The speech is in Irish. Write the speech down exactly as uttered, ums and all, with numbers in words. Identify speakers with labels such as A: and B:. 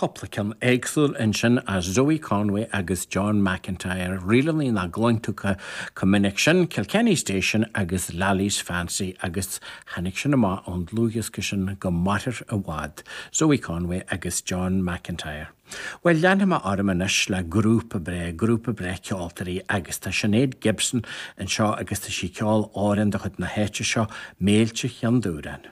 A: Cúpla ceann éagsúil ansin as Zoe Conway agus John McIntyre, ríleanna nach gcluin tú chomh minic sin, Kilkenny Station agus Lally's Fancy agus tháinig sin amach ón dlúthdhiosca sin go mairfir i bhfad, Zoe Conway agus John McIntyre. Well leanfaidh mé orm anois le grúpa breá, grúpa breá ceoltóirí agus tá Sinéad Gibson anseo agus tá sí ag ceol amhrán de chuid na háite seo Méilte Cheann Dúráin.